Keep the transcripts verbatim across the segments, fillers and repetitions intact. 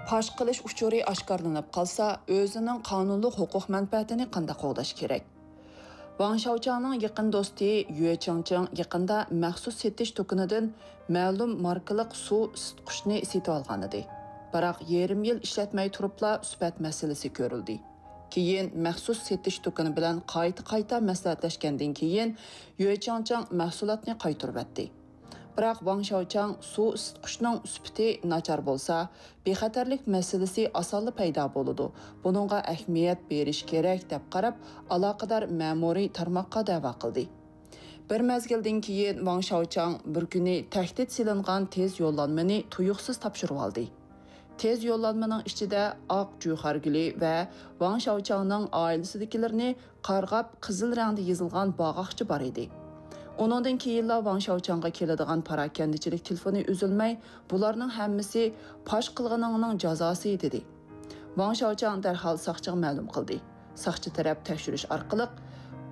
پاش قىلىش ئۇچۇرى ئاشكارىلىنىپ قالسا، ئۆزىنىڭ قانۇنلۇق ھوقۇق مەنپەئەتىنى قانداق قوغداش كېرەك؟ ۋاڭ شياۋچاڭنىڭ يېقىن دوستى يۈې چېڭچىڭ يېقىندا مەخسۇس سېتىش دۇكىنىدىن مەلۇم ماركىلىق سۇ ئىسسىتقۇچنى سېتىۋالغانىدى. بىراق يېرىم يىل ئىشلەتمەي تۇرۇپلا سۈپەت مەسىلىسى كۆرۈلدى. كېيىن مەخسۇس سېتىش دۇكىنى بىلەن قايتا-قايتا مەسلىھەتلەشكەندىن كېيىن، يۈې چېڭچىڭ مەھسۇلاتنى قايتۇرۇۋەتتى. بىراق ۋاڭ شياۋچاڭ سۇ ئىسسىتقۇچنىڭ سۈپىتى ناچار بولسا، بىخەتەرلىك مەسىلىسى ئاسانلا پەيدا بولىدۇ، بۇنىڭغا ئەھمىيەت بېرىش كېرەك، دەپ قاراپ، ئالاقىدار مەمۇرىي تارماققا دەۋا قىلدى. بىر مەزگىلدىن كېيىن ۋاڭ شياۋچاڭ بىر كۈنى تەھدىت سېلىنغان تېز يوللانمىنى تۇيۇقسىز تاپشۇرۇۋالدى. تېز يوللانمىنىڭ ئىچىدە ئاق جۇخارگۈلى ۋە ۋاڭ شياۋچاڭنىڭ ئائىلىسىدىكىلىرىنى قارغاپ قىزىل رەڭدە يېزىلغان باغاقچە بار ئىدى. ئۇنىڭدىن كېيىنلا ۋاڭ شياۋچاڭغا كېلىدىغان پاراكەندىچىلىك تېلېفونى ئۈزۈلمەي، بۇلارنىڭ ھەممىسى پاش قىلغىنىڭنىڭ جازاسى، دېدى. ۋاڭ شياۋچاڭ دەرھال ساقچىغا مەلۇم قىلدى. ساقچى تەرەپ تەكشۈرۈش ئارقىلىق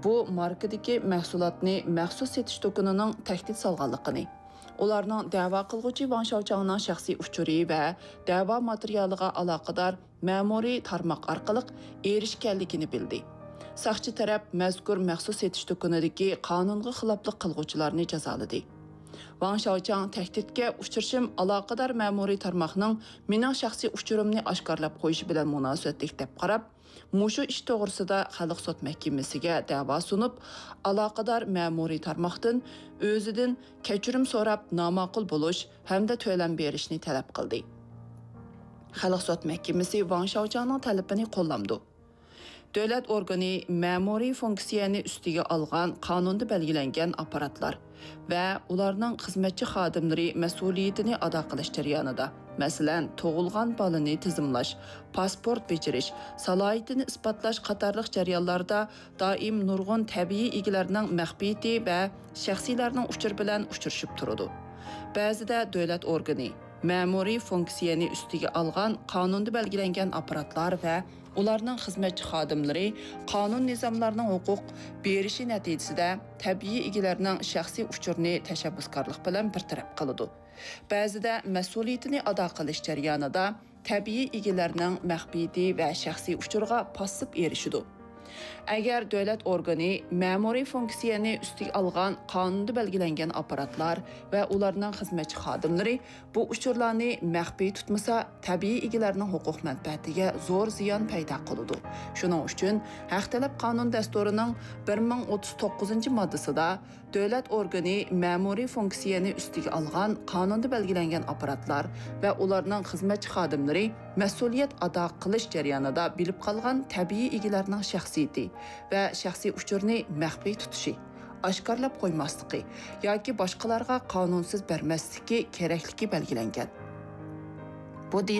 بۇ ماركىدىكى مەھسۇلاتنى مەخسۇس سېتىش دۇكىنىنىڭ تەھدىت سالغانلىقىنى، ئۇلارنىڭ دەۋا قىلغۇچى ۋاڭ شياۋچاڭنىڭ شەخسىي ئۇچۇرى ۋە دەۋا ماتېرىيالىغا ئالاقىدار مەمۇرىي تارماق ئارقىلىق ئېرىشكەنلىكىنى بىلدى. ساقچى تەرەپ مەزكۇر مەخسۇس سېتىش دۇكىنىدىكى قانۇنغا خىلاپلىق قىلغۇچىلارنى جازالىدى. ۋاڭ شياۋچاڭ تەھدىتكە ئۇچرىشىم ئالاقىدار مەمۇرىي تارماقنىڭ مېنىڭ شەخسىي ئۇچۇرۇمنى ئاشكارىلاپ قويۇشى بىلەن مۇناسىۋەتلىك دەپ قاراپ، مۇشۇ ئىش توغرىسىدا خەلق سوت مەھكىمىسىگە دەۋا سۇنۇپ، ئالاقىدار مەمۇرىي تارماقتىن ئۆزىدىن كەچۈرۈم سوراپ، ناماقۇل بولۇش ھەمدە تۆلەم بېرىشنى تەلەپ قىلدى. خەلق سوت مەھكىمىسى ۋاڭ شياۋچاڭنىڭ تەلىپىنى قوللامدۇ. دۆلەت ئورگىنى مەمۇرىي فۇنكسىيەنى ئۈستىگە ئالغان قانۇندا بەلگىلەنگەن ئاپپاراتلار ۋە ئۇلارنىڭ خىزمەتچى خادىملىرى مەسئۇلىيىتىنى ئادا قىلىش جەريانىدا، مەسىلەن، تۇغۇلغان بالىنى تىزىملاش، پاسپورت بېجىرىش، سالاھىيىتىنى ئىسپاتلاش قاتارلىق جەريانلاردا دائىم نۇرغۇن تەبىئىي ئىگىلەرنىڭ مەخپىيىتى ۋە شەخسىيلەرنىڭ ئۇچۇرى بىلەن ئۇچرىشىپ تۇرىدۇ. بەزىدە دۆلەت ئورگىنى مەمۇرىي فۇنكسىيەنى ئۈستىگە ئالغان قانۇندا بەلگىلەنگەن ئاپپاراتلار ۋە ئۇلارنىڭ خىزمەتچى خادىملىرى قانۇن نىزاملارنىڭ ھوقۇق بېرىشى نەتىجىسىدە تەبىئىي ئىگىلەرنىڭ شەخسىي ئۇچۇرىنى تەشەببۇسكارلىق بىلەن بىر تەرەپ قىلىدۇ. بەزىدە مەسئۇلىيىتىنى ئادا قىلىش جەريانىدا تەبىئىي ئىگىلەرنىڭ مەخپىيىتى ۋە شەخسىي ئۇچۇرىغا پاسسىپ ئېرىشىدۇ. ئەگەر دۆلەت ئورگىنى مەمۇرىي فۇنكسىيەنى ئۈستىگە ئالغان قانۇندا بەلگىلەنگەن ئاپپاراتلار ۋە ئۇلارنىڭ خىزمەتچى خادىملىرى بۇ ئۇچۇرلارنى مەخپىي تۇتمىسا، تەبىئىي ئىگىلەرنىڭ ھوقۇق مەنپەئەتىگە زور زىيان پەيدا قىلىدۇ. شۇنىڭ ئۈچۈن ھەق تەلەپ قانۇن دەستۇرىنىڭ بىر مىڭ ئوتتۇز توققۇزىنچى ماددىسىدا دۆلەت ئورگىنى مەمۇرىي فۇنكسىيەنى ئۈستىگە ئالغان قانۇندا بەلگىلەنگەن ئاپپاراتلار ۋە ئۇلارنىڭ خىزمەتچى خادىملىرى مەسئۇلىيەت ئادا قىلىش جەريانىدا بىلىپ قالغان تەبىئىي ئىگىلەرنىڭ شەخسىيىتى ۋە شەخسىي ئۇچۇرىنى مەخپىي تۇتۇشى، ئاشكارىلاپ قويماسلىقى ياكى باشقىلارغا قانۇنسىز بەرمەسلىكى كېرەكلىكى بەلگىلەنگەن. بۇ